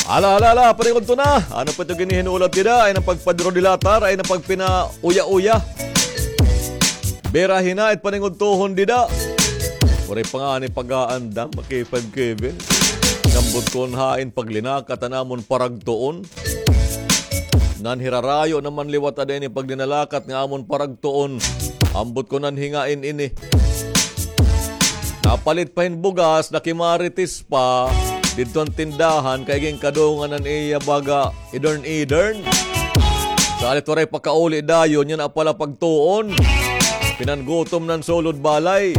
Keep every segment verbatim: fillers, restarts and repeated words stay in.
Hala, hala, hala, paningudto na. Ano pa ito ginihinulat dida? Ay nang pagpadrodilatar, ay nang pagpinauya-uya. Bira hinait paningudtohon dida. Waray pa ngani pag-aandam, K five Kevin. Ambot kon hain paglinakat an amon paragtuon. Nanhirarayo naman liwat ada ini paglinalakat nga amon paragtuon. Ambot kon nanhingain ini. Napalit pa hin bugas, nakimarites pa didto han tindahan kay ginkadungan an iya baga idern-idern. Salit waray pakauli dayon, yana pala pagtuon. Pinangutom na an sulod balay.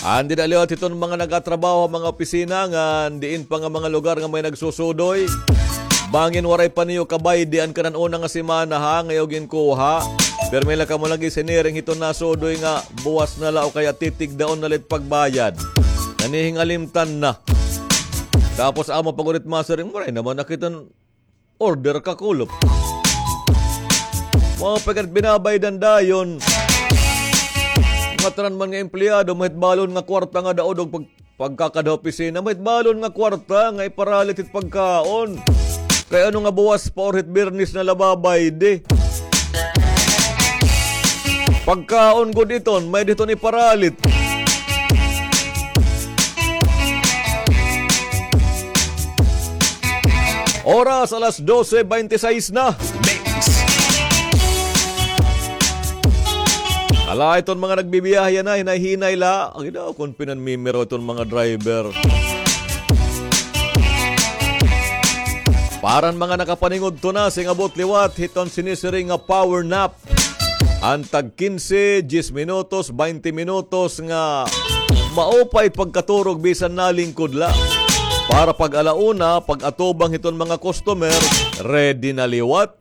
Andi na liwat hiton mga nagatrabaho ha mga opisina ngan diin pa nga mga lugar nga may nagsusudoy. Bangin waray pa niyo kabaydi an kanan una nga semana ha, nga iyo ginkuha. Pirmi la kamo lagi siniring hiton nasudoy nga buwas na la o kaya titigdaon na la it pagbayad. Nanihingalimtan na. Tapos amo pa gud it masiring, waray naman na kita order kakulop. Mga pagkat binabaydan dayon. Mga tanan man nga empleyado, mahitbalon nga kwarta nga daod og pag-, pagkakada opisina, mahitbalon nga kwarta nga iparalit it pagkaon. Kay ano nga buwas pa or hit Biyernes na la babaydi. Pagkaon gud iton, may diton iparalit. Oras, alas dose bente sais na. Mix. Ala, iton mga nagbibiyahe yana, hinay-hinay la. Ang ina, kon pinanmimiro iton mga driver. Para han mga nakapaningudto na, sing-abot liwat hiton sinisiring nga power nap. An tag kinse, diyes minutos, baynte minutos nga maupay pagkaturog bisan nalingkod la. Para pag-ala una, pag-atubang hiton mga customer, ready na liwat.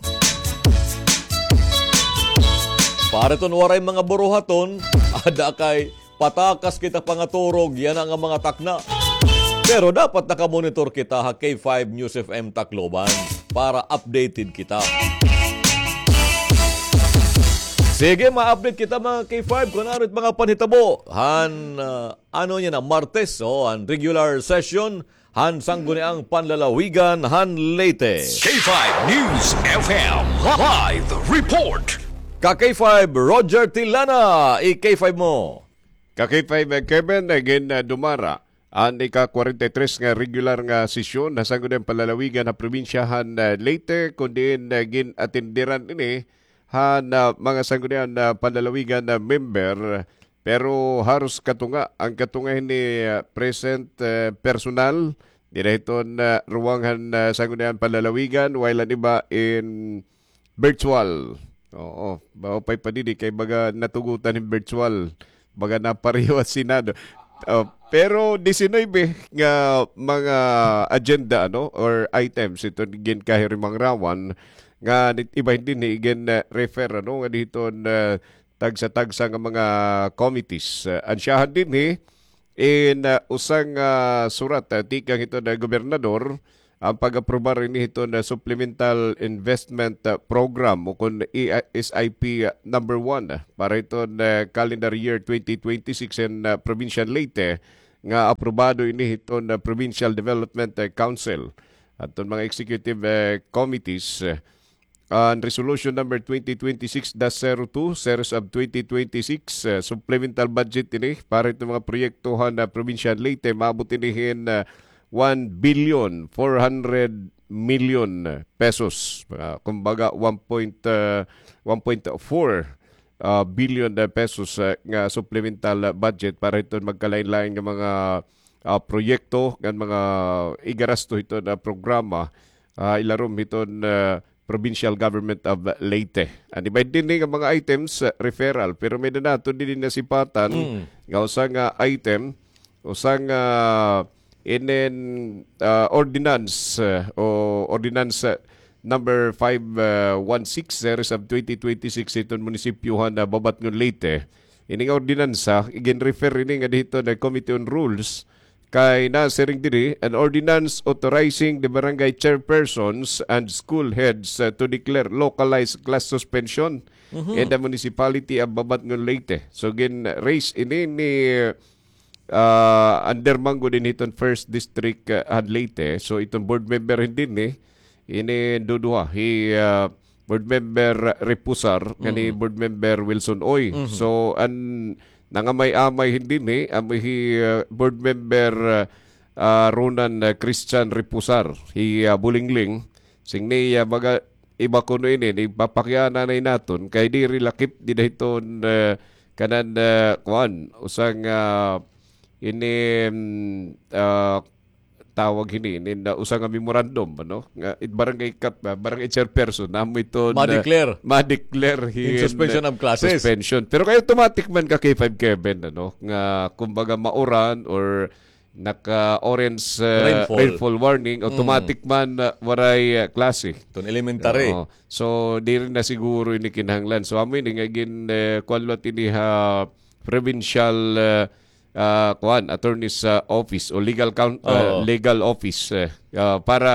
Para iton waray mga buruhaton, ada kay patakas kita pangaturog, yana nga mga takna. Pero dapat nakamonitor kita ha K five News F M Tacloban para updated kita. Sige, ma-update kita, mga K five, kun ano it mga panhitabo han, ah, ano yana, Martes, o, an regular session han Sangguniang Panlalawigan han Leyte. K five News F M live report. Ka K five, Roger Tilana, i-K five mo. Ka K five, eh, Kevin, eh, gin, eh, dumara an ika-kwarenta y tres nga regular nga sesyon ha Sangguniang Panlalawigan ha probinsya han, eh, Leyte, kun diin, eh, gin-atenderan ini han, ah, mga Sangguniang, ah, Panlalawigan nga member. Pero haros katunga, an katunga hini, ah, present, eh, personal dida hiton, ah, ruwang han, ah, Sangguniang Panlalawigan, while an iba in virtual. Oo, maupay pa didi kay baga natugutan hin virtual. Baga napareho an Senado. Oh, pero disinuybe nga mga agenda, ano, or items iton ginkahirimangarawan nga nit-, iba dinhi igin, eh, refer, ano, nga diton, eh, tagsa-tagsa nga mga committees. Eh, ansyahan dinhi in, ah, usa nga surat, ah, tikang hiton gobernador, an pag-aprobar ini hiton, ah, Supplemental Investment, ah, Program o kun E I, S I P, ah, number one, ah, para hiton, ah, calendar year twenty twenty-six in, ah, Provincial Leyte, nga aprobado ini hiton, ah, Provincial Development, ah, Council. Aton mga executive, eh, committees, eh, an Resolution Number twenty twenty-six dash zero two, Series of twenty twenty-six, eh, supplemental budget ini para hiton mga proyekto han, ah, Provincial Leyte, maabot ini hin, ah, one billion four hundred million pesos. Ah, kumbaga, one point, ah, one point four, ah, billion, ah, pesos, ah, nga supplemental, ah, budget para hiton magkalain-lain nga mga, ah, proyekto ngan mga igarasto hiton, ah, programa, ah, ilarom hiton, ah, Provincial Government of Leyte. An iba dinhi nga mga items, ah, referral, pero may-ada naton dinhi nasipatan nga usa nga item, usa nga inin, ah, ordinance, ah, o ordinance, ah, number five one six, series of twenty twenty-six hiton munisipyo han, ah, Babatngon, Leyte. Ini nga ordinansa, igin-refer ini nga didto ha Committee on Rules, kay nasiring diri, an ordinance authorizing the barangay chairpersons and school heads, uh, to declare localized class suspension in the municipality of Babatngon, Leyte. So, gin-raise ini ni, ah, under man gud ini hiton First District, ah, han Leyte. So, iton board member hin dinhi, ini duduha, hi, ah, board member Reposar, ngan hi board member Wilson Uy. So, an nangamay-amay hin dinhi, amo hi, ah, board member, ah, ah, Ronan, ah, Christian Reposar, hi, ah, Bulingling. Sing ni, ah, baga iba kuno ini, ni papakiana na naton, kay diri lakip dida hiton, ah, kanan, ah, kuan, usa nga, ini, mm, ah, tawag hini, ini na usa nga memorandum, ano? Nga, it barangay kap-, ah, barangay chairperson, amo iton, ah, ma-declare. Ma-declare hin, suspension of classes. Suspension. Pero kay automatic man ka K five Kevin, ano? Nga, kumbaga, mauran or naka-orange, ah, rainfall warning, automatic man, ah, waray, ah, klase. Iton elementary. Oo. So, diri na siguro ini kinahanglan. So, amo ini nga gin, eh, kuan liwat ini ha provincial, ah, ah, kuan, attorney's, ah, office o legal coun-, ah, legal office, eh, ah, para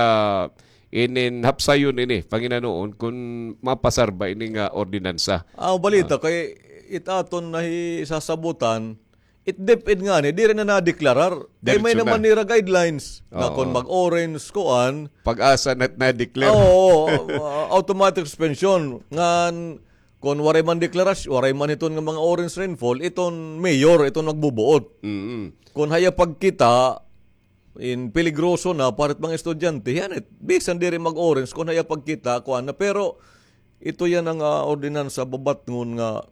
inin hapsayon ini, panginanoon kun mapasar ba ini nga ordinansa. Ah, balita kay it aton nahisasabutan, it DepEd ngani, diri na nadeklarar. Kay may naman nira guidelines na kun mag-orange, kuan. Pag-asa na, na-declare. Oo, ah, automatic suspension. Ngan, kun waray man deklarasyon, waray man iton nga mga orange rainfall, iton mayor, iton magbubuot. Kun haya pagkita, in peligroso na para it mga estudyante, yan it, bisan diri mag-orange, kun haya pagkita, kuan na. Pero, ito yan ang, ah, ordinansa babatngon nga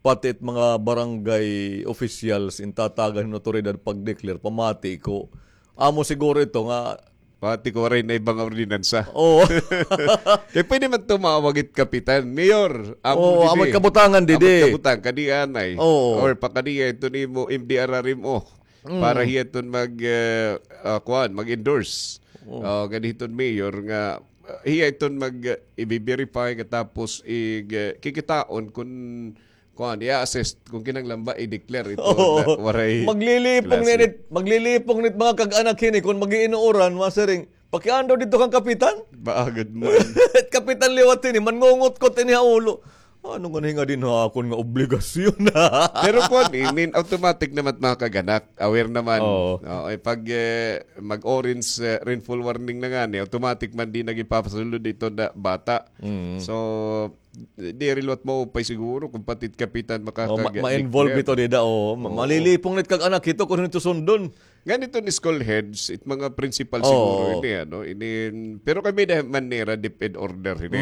pati it mga barangay officials in tatagan hin otoridad pag-declare, pamati ko. Amo siguro ito nga pati ko waray na iba nga ordinansa. Oo. Kay pwede man tumawag it kapitan, "Mayor, amo didi. Amo it kabutangan didi. Amo it kabutang, kadi anay." Oo. Or pakadi ito nimo, M D R R M O. Para hiya iton mag, eh, ah, kuan, mag-endorse. Oo. Ah, gani hiton mayor nga, ah, hiya iton mag, eh, ibi-verify katapos ig, eh, kikitaon kun kuan, i-assess kun kinahanglan ba i-declare ito na waray klase. Maglilipong nit, maglilipong nit mga kag-anak hini kun mag-iinuuran, masiring, "Pakiana daw didto kan kapitan." Baagad man. Kapitan liwat hini, manngungutkot ini ha ulo. Ano nga nahinga din ha akon nga obligasyon? Pero kuan, I mean, automatic naman mga kag-anak, aware naman. Oo. Oo, eh, pag, eh, mag-orange, eh, rainfall warning na ngani, automatic man di nag-ipapasulod ito na bata. So, diri liwat maupay siguro kun pati it kapitan makakag-declare. Ma-involve ito dida, o. Ma-, malilipong nit kag-anak ito kun ito sundon. Ngan iton school heads, it mga principal siguro ini, ano, ini, pero kami da man nira DepEd order hini.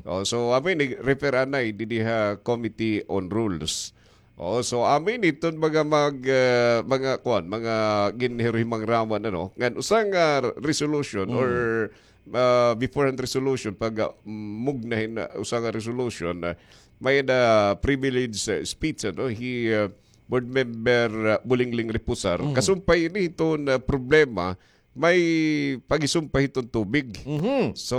Oh, so, amo ini, refer anay didi ha Committee on Rules. Oh, so, amo ini iton mga mag, ah, mga, kuan, mga ginhiruhimangrawan, ano, ngan usa nga resolution or ah, before an resolution, pag, ah, mugna hin, ah, usa nga resolution, ah, may-ada privilege, ah, speech, ano, hi, ah, Board Member, ah, Bulingling Reposar. Kasumpay ini hiton, ah, problema, may pagisumpay hiton tubig. So,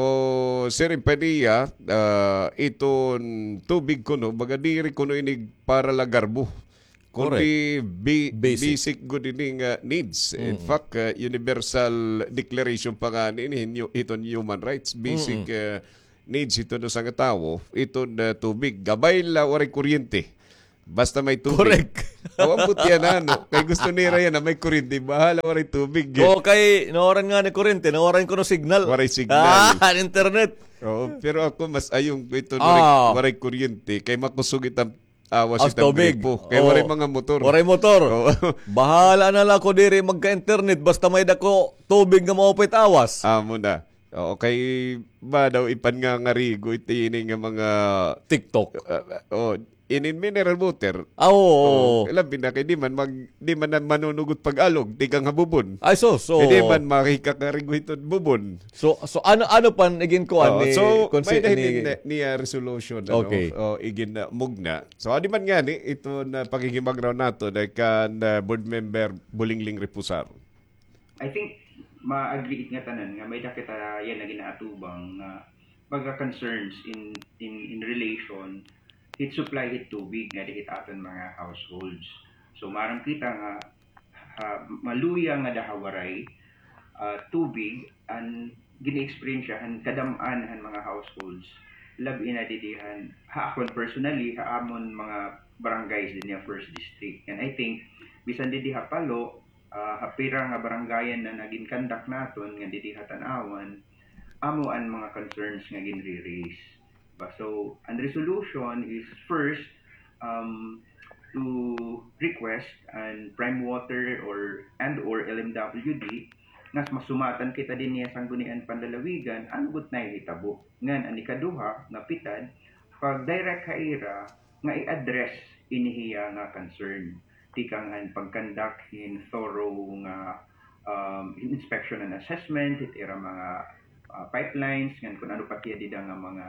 siring pa niya, ah, iton tubig kuno, baga diri kuno ini para la garbo. Kundi bi-, basic gud ini nga needs. In fact, uh, universal declaration pa ngani ini hin-, hiton human rights. Basic, uh, needs hiton usa nga tawo, iton, uh, tubig. Gabay la waray kuryente. Basta may tubig. Correct. Aw, ambot yana, no? Kay gusto nira yana, may kuryente. Bahala waray tubig. Oo, kay nawaran ngani kuryente, nawaran kuno signal. Waray signal. Ah, an internet. Oo, pero ako mas ayong ko ito waray, waray kuryente. Kay makusog it am awas it am gripo. Kay waray mga motor. Waray motor. Oo. Bahala na la ako diri magka-internet basta may-ada ko tubig nga maupay it awas. Amo na. Oo, kay ba daw ipangangarigo ito ini nga mga TikTok. Ah, oh, ini mineral water. Ah, oo. Oo, labi na kay di man mag-, di man na manunugot pag-alog, tikang ha bubon. Ay, so, so. Kay di man makikakarigo hiton bubon. So, so ano, ano pa an igin kuan ni, so, may-ada hini ni, ni, ah, resolution, ano? Okay. O, igin, ah, mugna. So, adi man ngani, ito na pakikibagro naton kan, ah, Board Member Bulingling Reposar. I think, ma-agree it nga tanan nga may-ada kita yana ginaatubang nga mga concerns in, in, in relation hit supply hit tubig nga dihit aton mga households. So, maaram kita nga, ha, maluya nga daha waray, ah, tubig an gini-eksperyensya han kadam-an han mga households. Labi na didi han, ha akon personally, ha amon mga barangays dinhi ha first district. And I think, bisan didi ha Palo, ah, ha pira nga barangayan na nagin-conduct naton nga didi ha Tanauan, amo an mga concerns nga ginre-raise. Ba, so, an resolution is first, um, to request an Prime Water or, and or L M W D nga masumatan kita dinhi ha Sanggunian Panlalawigan, ano gud nahihitabo. Ngan an ikaduha nga pitad, pag-direct ha ira nga i-address ini hiya nga concern. Tikang han pag-conduct hin thorough nga, um, inspection and assessment hit ira mga, ah, pipelines, ngan kun ano pa it iya dida nga mga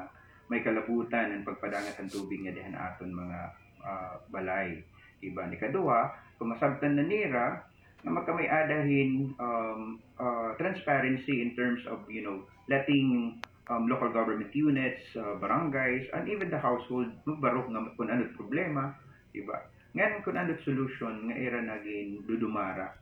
may kalabutan an pagpadangat han tubig ngadi han aton mga, ah, balay. Iba, an ikaduha, kon masabtan na nira nga magkamay-ada hin, um, ah, transparency in terms of, you know, letting, um, local government units, ah, barangays, and even the household magbaro nga kun ano it problema, iba. Ngan kun ano it solution nga ira nagin dudumara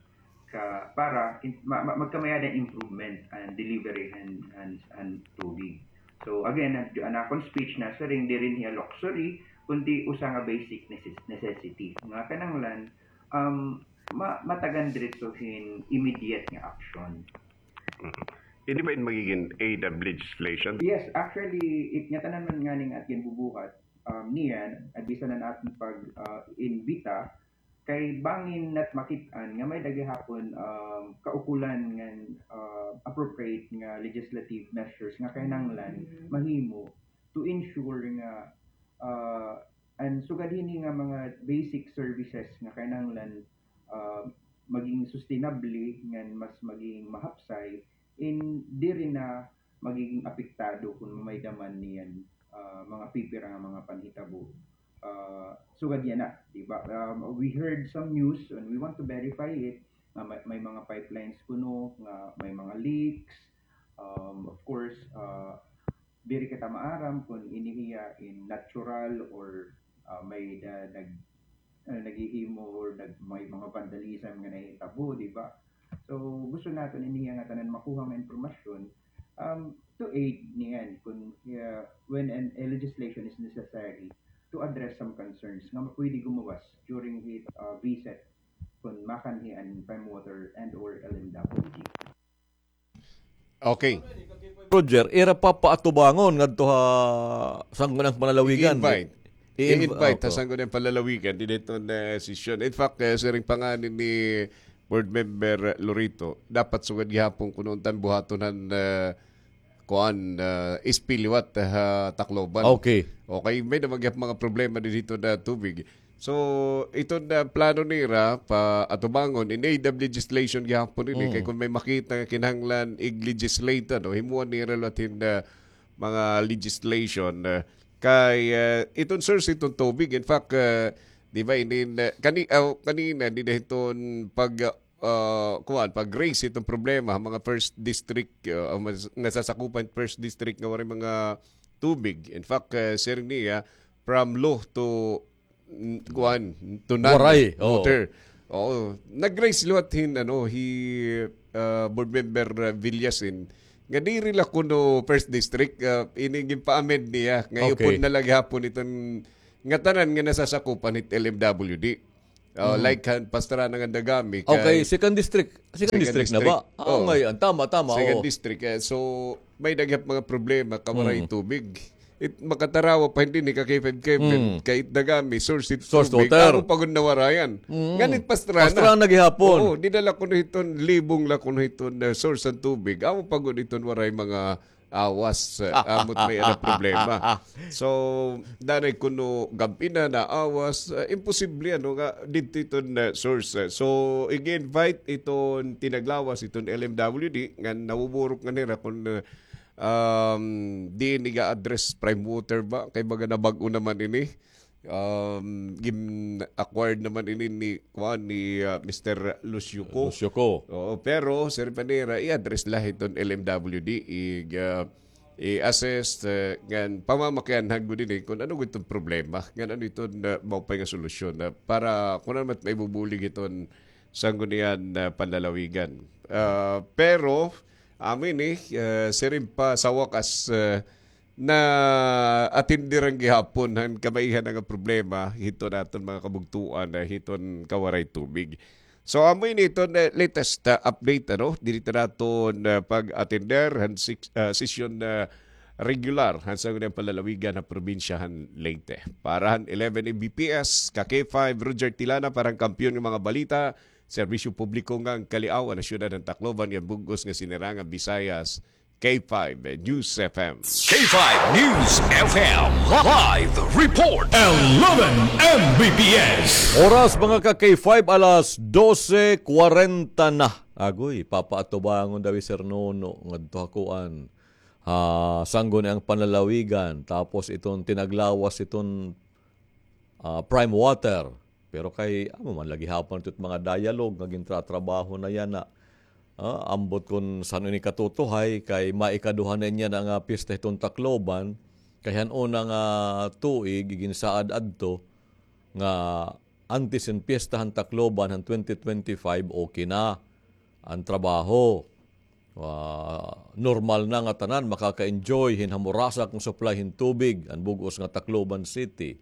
ka para in, ma, ma, magkamay-ada improvement an delivery han, han, han tubig. So again, an, an akon speech nasiring diri hiya luxury, kundi usa nga basic necess-, necessity nga kinahanglan, um, ma, matagan diretso hin immediate nga action. Mhm. Ini ba in magigin aid of legislation? Yes, actually, it, ngatanan man ngani nga aton ginbubuhat, um, niyan, bisan an aton pag, ah, imbita, kay bangin nat makit-an nga may-ada gihapon, um, kaukulan ngan, ah, appropriate nga legislative measures nga kinahanglan mahimo to ensure nga, ah, an sugad hini nga mga basic services nga kinahanglan, ah, maging sustainable ngan mas maging mahapsay, in diri na magiging apektado kon may-ada man niyan, ah, mga pipira nga mga panhitabo. Ah, sugad yana, di ba? Um, we heard some news and we want to verify it, nga may, may mga pipelines kuno nga may mga leaks. Um, of course, ah, diri kita maaram kon ini hiya in natural or, ah, may-ada nag-, ah, naghihimo or nag-, may mga vandalism nga nahitabo, di ba? So, gusto naton ini hiya nga tanan makuha nga impormasyon, um, to aid niyan kon, ah, when an, a legislation is necessary to address some concerns nga pwede gumawas during hit, ah, visit kon makanhi an Prime Water and or L M W D. Okay. Roger, ira papaatubangon ngadto ha Sangguniang Panlalawigan. I-invite. I-inv-, I-invite ha Sangguniang Panlalawigan dinhi hiton, eh, sesyon. In fact, eh, siring pa ngani ni Board Member Lorito, dapat sugad gihapon kuno unta buhaton han, eh, kuan, eh, spill liwat ha Tacloban. Okay. Okay, may-ada man gihap mga problema dinhi hiton tubig. So, iton plano nira paatubangon in aid of legislation gihapon ini, kay kon may makita nga kinahanglan ig-legislate, ano, himuan nira liwat hin mga legislation, ah, kay, ah, iton source hiton tubig. In fact, ah, di ba, inin, ah, kani-, ah, kanina, dida hiton pag, ah, kuan, pag-raise hiton problema, mga first district, ah, mas-, nasasakupan first district nga waray mga tubig. In fact, ah, siring niya, from Lo to n-, kuan, to none. Waray, oo. Water. Oo. Nag-raise liwat hin, ano, hi, ah, Board Member, ah, Villasin, nga diri la kuno first district, ah, ini ginpa-amend niya, nga upod na la gihapon iton ngatanan nga nasasakupan hit L M W D. Oh, like han Pastrana ngan Dagami, okay, kay second district. Second district na ba? Ah, ngayon. Tama, tama, second district. Eh, so, may-ada gihap mga problema, ka waray tubig. It, makatarawa pa hin dinhi ka K five Kevin, kay it Dagami, source it tubig. Source water. Amo pa gud nawarayan. Ngan it Pastrana. Pastrana gihapon. Oo, dida la kuno hiton, Libong la kuno hiton, eh, source han tubig. Amo pa gud hiton waray mga awas, eh, amo it may-ada problema. So, danay kuno gab-i na, naawas, eh, imposible, ano, nga didto iton, eh, source, eh. So, ig-invite iton tinaglawas, iton L M W D, nga nabuburok ngani hira kon, eh, um, diin iga-address Prime Water ba? Kay baga nabag-o naman ini. Um, gin-acquired naman ini ni, kuan, ni, ah, Mister Lucio Co. Lucio Co. Oo, pero, siring pa nira, i-address la hiton L M W D, ig, ah, i-assess, eh, ngan pamamakianhan gud ini kon ano gud iton problema, ngan ano iton, ah, maupay nga solusyon, ah, para kon ano man it maibubulig hiton Sanggunian, ah, Panlalawigan. Ah, pero, amo ini, eh, siring pa sa wakas, eh, na-attenderan gihapon han kamaihan nga problema hiton aton mga kabugtoan, ah, hiton kawaray tubig. So, amo ini iton, eh, latest, ah, update, ano, diri ta naton, ah, pag-attender han sik-, ah, sesyon, ah, regular han Sangguniang Panlalawigan han probinsya han Leyte. Para han eleven M B P S, ka K five, Roger Tilana, para han kampiyon nga mga balita, serbisyo publiko ngan kaliaw han syudad han Tacloban ngan bug-os nga sinirangan Visayas, K five News F M. K five News F M live report. Eleven M B P S. Oras, mga ka K five, alas dose kwarenta na. Agoy, papaatubangon daw hi Sir Nono ngadto ha kuan, ha Sangguniang Panlalawigan. Tapos iton tinaglawas iton ah, Prime Water. Pero kay, amo man la gihapon ito mga dialogue nga gintratrabaho na yana. Ah, ambot kon san-o ini katutuhay, kay maikaduha na niya na nga pista hiton Tacloban, kay han una nga tuig, iginsaad adto, nga antes hin piyesta han Tacloban, han twenty twenty-five, okay na an trabaho. Ah, normal na nga tanan makaka-enjoy hin hamurasak nga supply hin tubig an bug-os nga Tacloban City.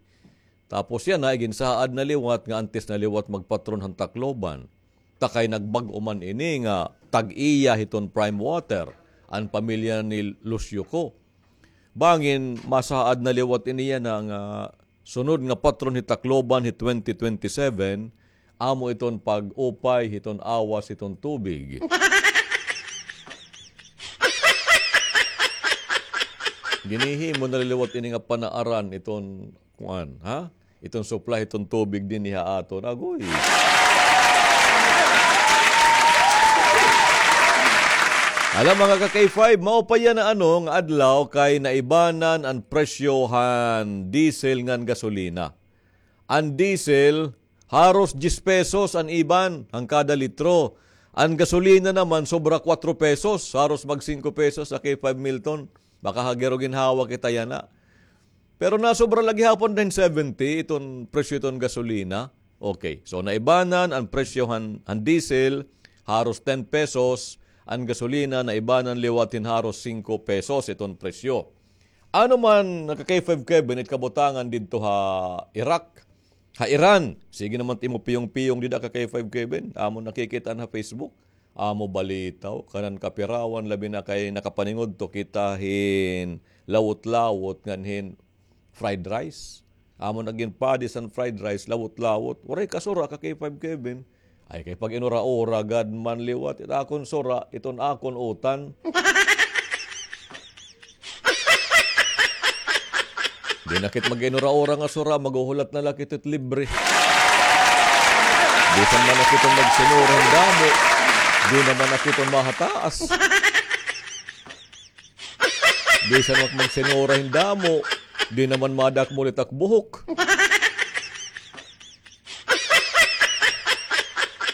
Tapos yana, iginsaad na liwat nga antes na liwat magpatron han Tacloban. Ta kay nagbag-o man ini nga tag-iya hiton Prime Water an pamilya ni Lucio Co. Bangin masaad na liwat ini yana nga sunod nga patron hi Tacloban hi twenty twenty-seven, amo iton pag-upay hiton awas hiton tubig. Ginhihimo na liwat ini nga panaaran iton kuan, ha? Iton supply, iton tubig dinhi ha aton. Agoy. Hala, mga ka K five, mao pa yana, ano, nga adlaw kay naibanan an presyo han diesel ngan gasolina. An diesel, haros diyes pesos an iban han kada litro. An gasolina naman, sobra kuwatro pesos, haros mag singko pesos ha K five Milton. Baka ha gero ginhawa kita yana. Pero nasobra la gihapon hin seventy iton presyo iton gasolina. Okay, so naibanan an presyo han, han diesel, haros ten pesos, an gasolina naibanan liwat hin haros singko pesos iton presyo. Ano man, naka K five Kevin, it kabutangan didto ha Iraq, ha Iran? Sige naman it imo piyong-piyong dida ka K five Kevin. Amo nakikit-an ha Facebook. Amo balitaw, kanan kapirawan, labi na kay nakapaningudto kita hin lawot-lawot ngan hin fried rice. Amo na ginpadis an fried rice, lawot-lawot. Waray kasura ka K five Kevin. Ay, kay pag-inura-ura gad man liwat it akon sura, iton akon utan. Di na kit mag-inura-ura nga sura, maghuhulat na la kit it libre. Bisan man na kit magsinura hin damo, di naman na kit mahataas. Bisan man magsinura hin damo, di naman madakmol it ak buhok.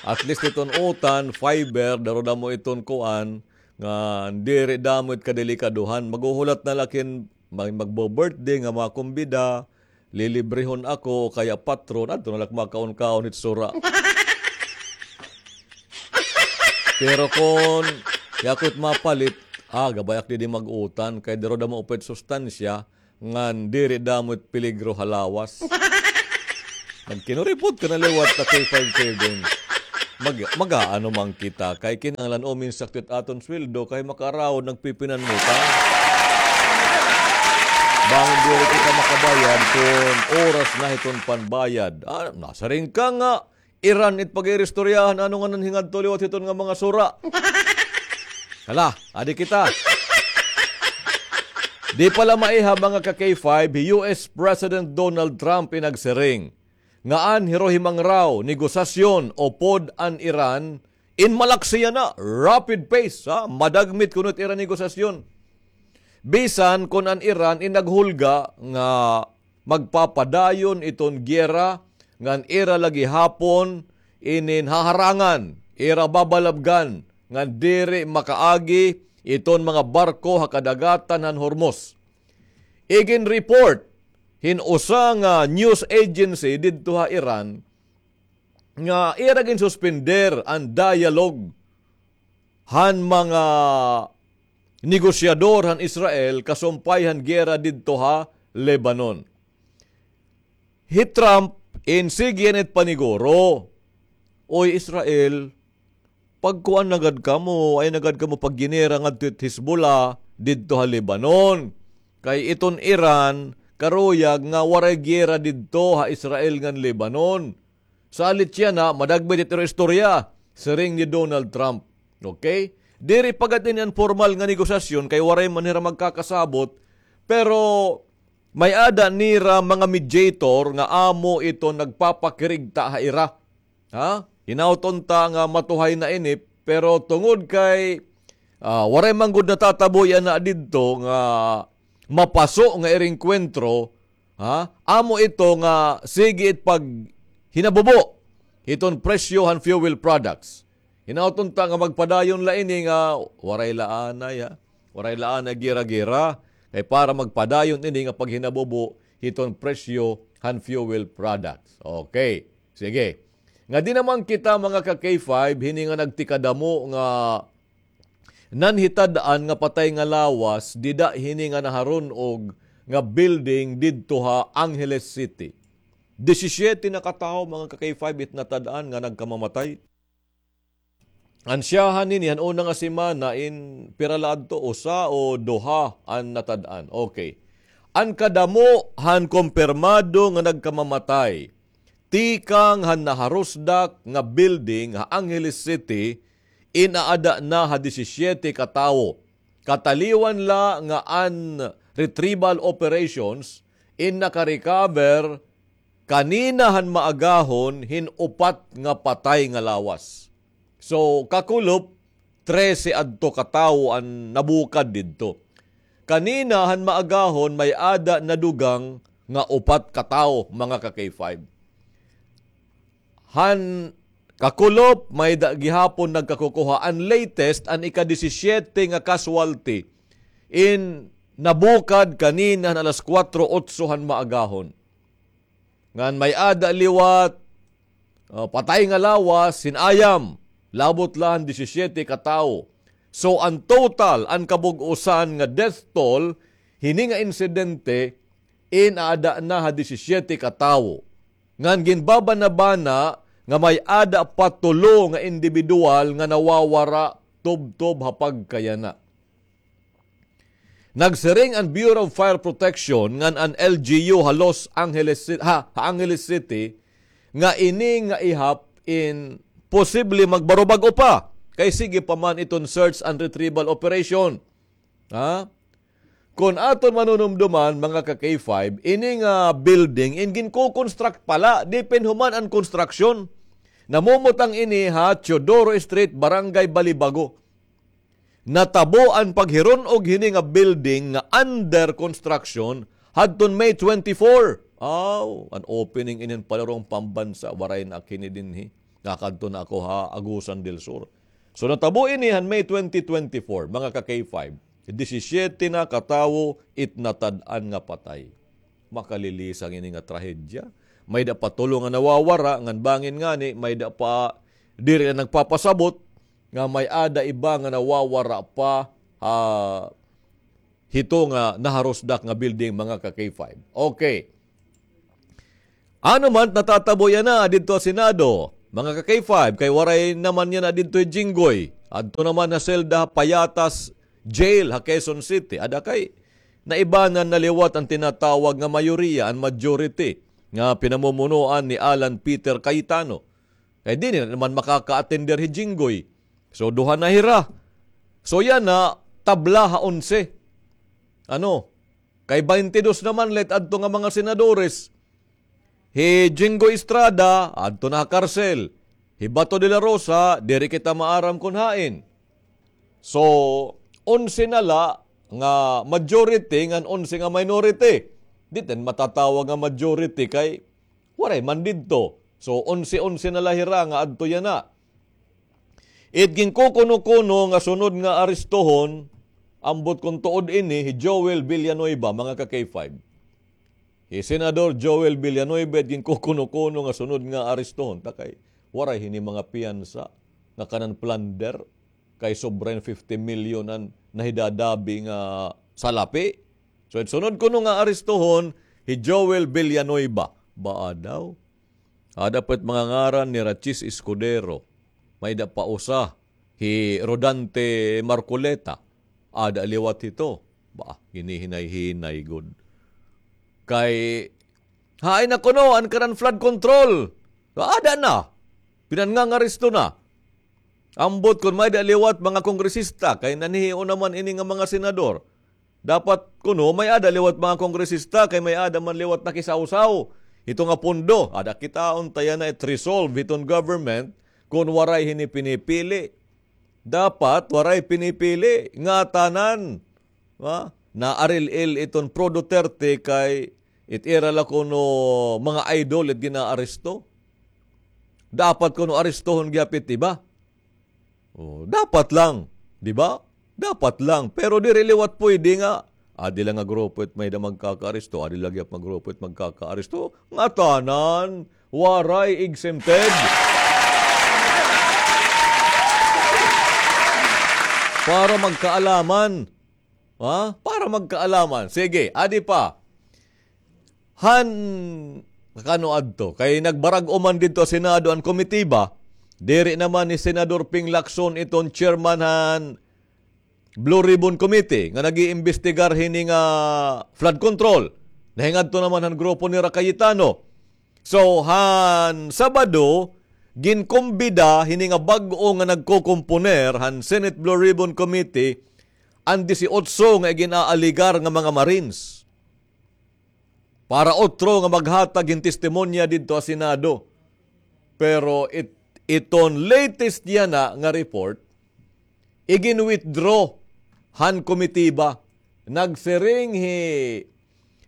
At least iton utan, fiber, daro damo iton kuan, nga diri damo it kadelikaduhan. Maghuhulat na la kin mag-, magbo-birthday nga mga kumbida, lilibrehon ako, kaya patron, adto na la ak makaon-kaon hit sura. Pero kon, ya ko it mapalit, ah, gabay ak didi mag-utan, kay daro damo upay it sustansya, ngan diri damo it peligro ha lawas. Nagkinuripot ka na liwat ta K five Kevin. Mag-, mag-aano man kita, kay kinahanglan uminsakto it aton sweldo, kay makaraod nagpipinanmutan. Bangin diri kita makabayad kon oras na hiton panbayad. Ah, nasiring ka nga, Iran it pag-iristoryahan, ano nga nanhingadto liwat hiton nga mga sura. Hala, adi kita. Di pa la maiha, mga ka K five, hi U S President Donald Trump in nagsiring nga an hirohimang raw negosasyon upod an Iran in malaksi yana, rapid pace, ha? Madagmit kuno it ira negosasyon. Bisan kon an Iran in naghulga nga magpapadayon iton giyera ngan ira la gihapon inin haharangan, ira babalabgan ngan diri makaagi iton mga barko ha kadagatan han Hormuz. Igin-report hin usa nga news agency didto ha Iran nga ira ginsuspender an dialogue han mga negosyador han Israel kasumpay han giyera didto ha Lebanon. Hi Trump in sige yana it paniguro, "Oy Israel, pagkuan na gad kamo, ay na gad kamo pagginera ngadto it Hezbollah didto ha Lebanon. Kay iton Iran, karuyag nga waray giyera didto ha Israel ngan Lebanon." Salit yana, madagmit it ira istorya, siring ni Donald Trump. Okay? Diri pa gad ini an pormal nga negosasyon kay waray man hira magkakasabot, pero may-ada nira mga mediator nga amo ito nagpapakirigta ha ira. Ha? Hinaut unta nga matuhay na ini, pero tungod kay, ah, waray man gud natatabo yana didto nga mapaso nga ira engkwentro, ha? Amo ito nga sige it paghinabubo hiton presyo han fuel products. Hinaut unta nga magpadayon la ini nga waray la anay, ha? Waray la anay gera-gera. Kay para magpadayon ini nga paghinabubo hiton presyo han fuel products. Okay. Sige. Ngadi naman kita, mga ka-K five, hini nga nagtikadamo nga nanhitad-an nga patay nga lawas dida hini nga naharun-og nga building didto ha Angeles City. Disisiete na ka tawo, mga ka-K five, it natad-an nga nagkamamatay. An syahan hini han una nga semana in pira la adto, usa o duha an natad-an. Okay. An kadamo han kumpirmado nga nagkamamatay tikang han naharusdak nga building ha Angeles City in aada na ha disisiete ka tawo. Kataliwan la nga an retrieval operations in naka-recover kanina han maagahon hin upat nga patay nga lawas. So, kakulop, trese adto ka tawo an nabukad didto. Kanina han maagahon may-ada nadugang nga upat ka tawo, mga ka-K five. Han kakulop, may-ada gihapon nagkakukuha. An latest, an ika-disisiete nga casualty in nabukad kanina han alas kuwatro otso han maagahon. Ngan may-ada liwat, ah, patay nga lawas, hin ayam, labot la han disisiete ka tawo. So, an total, an kabug-osan nga death toll, hini nga insidente, in aada na ha disisiete ka tawo. Ngan ginbabanabana nga may-ada pa tulo nga indibidwal nga nawawara tubtob ha pagkayana. Nagsiring an Bureau of Fire Protection ngan an L G U ha Los Angeles Ci-, ha, ha Angeles City nga ini nga ihap in posible magbarubag-o pa kay sige pa man iton search and retrieval operation. Ha? Kon aton manunumduman, mga ka-K five, ini nga building in ginko-construct pa la, di pa in human an construction. Namumutang ini ha Teodoro Street, Barangay Balibago. Natabo an paghirun-og hini nga building nga under construction hadton May twenty-four. Aw, an opening inin palarong pambansa, waray na ak hini dinhi. Nakadto na ako ha Agusan del Sur. So, natabo ini han May twenty twenty-four, mga ka-K five. Disisiete na ka tawo it natad-an nga patay. Makalilisang ini nga trahedya. May-ada pa tulo nga nawawara, ngan bangin ngani, may-ada pa diri na nagpapasabot nga may-ada iba nga nawawara pa, ah, hito nga naharusdak nga building, mga ka-K five. Okay. Ano man natatabo yana didto ha Senado, mga ka-K five, kay waray naman yana didto hi Jinggoy. Adto naman ha selda ha Payatas Jail ha Quezon City. Ada kay naibanan na liwat an tinatawag nga mayoriya, an majority, nga pinamumunuan ni Alan Peter Cayetano. Kay diri na naman makaka-attender hi Jinggoy. So, duha na hira. So, yana, tabla ha onse. Ano? Kay baynte dos naman la it adto nga mga senadores. Hi Jinggoy Estrada, adto na ha karsel. Hi Bato de la Rosa, diri kita maaram kon hain. So, onse na la nga majority ngan onse nga minority. Di ta matatawag nga majority kay waray man didto. So, onse-onse na la hira nga adto yana. It ginkukuno-kuno nga sunod nga arestohon, ambot kon tuod ini, hi Joel Villanueva, mga ka-K five. Hi Senador Joel Villanueva, it ginkukuno-kuno nga sunod nga arestohon. Ta kay, waray hini mga piyansa nga kanan plunder. Kay sobra hin fifty million an nahidadabi nga salapi. So, it sunod kuno nga arestuhon, hi Joel Villanueva. Baa daw? Ada pa it mga ngaran ni Rachis Escudero. May-ada pa usa, hi Rodante Marcoleta. Ada liwat hito. Ba, hinihinay-hinay gud. Kay, hain na kuno an kanan flood control. Ada na. Pinangangaresto na. Ambot kon may-ada liwat mga kongresista, kay nanhihiyo naman ini nga mga senador. Dapat kuno may-ada liwat mga kongresista, kay may-ada man liwat nakisawsaw hito nga pondo. Ada kitaon ta yana it resolve hiton government kon waray hini pinipili. Dapat waray pinipili, ngatanan. Ha? Naaril-il iton Pro Duterte kay it ira la kuno mga idol it ginaaresto. Dapat kuno arestohon gihap it iba. Oh, dapat lang, di ba? Dapat lang. Pero diri liwat pwede nga, adi la nga grupo it may-ada magkakaaresto, adi la gihap nga grupo it magkakaaresto. Ngatanan, waray exempted. Para magkaalaman. Ha? Para magkaalaman. Sige, adi pa. Han, kano adto? Kay nagbarag-o man didto ha Senado an komitiba, diri naman ni Senador Ping Lacson iton chairman han Blue Ribbon Committee nga nag-iimbestigar hini nga flood control. Nahingadto naman han grupo nira Cayetano. So, han Sabado, ginkumbida hini nga bag-o nga nagkokomponer han Senate Blue Ribbon Committee an disiotso nga iginaaligar nga mga Marines para otro nga maghatag hin testimonya didto ha Senado. Pero it-, iton latest yana nga report, igin-withdraw han komitiba. Nagsiring hi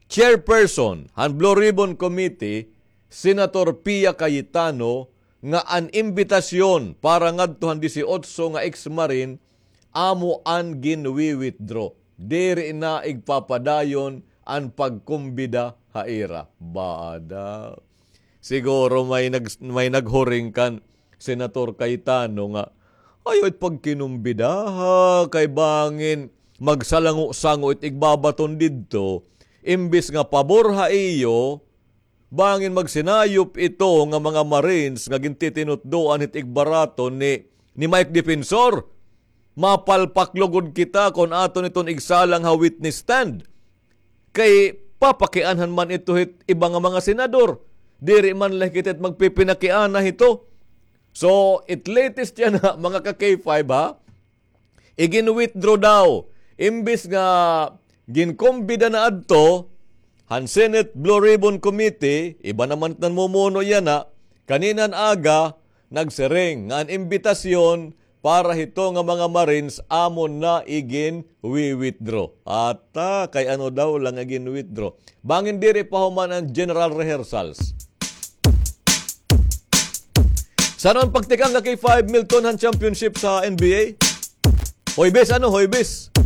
chairperson han Blue Ribbon Committee, Senator Pia Cayetano, nga an imbitasyon para ngadto han disiotso nga ex-marine amo an ginwi-withdraw. Diri na igpapadayon an pagkumbida ha ira. Bada. Siguro may nag-, may naghuring kan Senator Cayetano nga, "Ayaw it pagkinumbida, ha, kay bangin magsalango-sango it igbabaton didto, imbis nga pabor ha iyo, bangin magsinayop ito nga mga Marines nga gintitinutdoan hit igbaraton ni, ni Mike Defensor. Mapalpak lugod kita kon aton iton igsalang ha witness stand." Kay papakianhan man ito hit iba nga mga senador. Diri man la kita it magpipinakiana hito. So, it latest yana, mga ka-K five, ha? Igin-withdraw daw. Imbis nga ginkumbida na adto han Senate Blue Ribbon Committee, iba naman it namumuno yana, kaninan aga, nagsiring nga an imbitasyon para hito nga mga Marines amo na igin-wi-withdraw. Ata, kay ano daw la nga igin-withdraw. Bangin diri pa human an general rehearsals. San-o an pagtikang nga K five, Milton, han championship sa N B A? Huwebes, ano? Huwebes.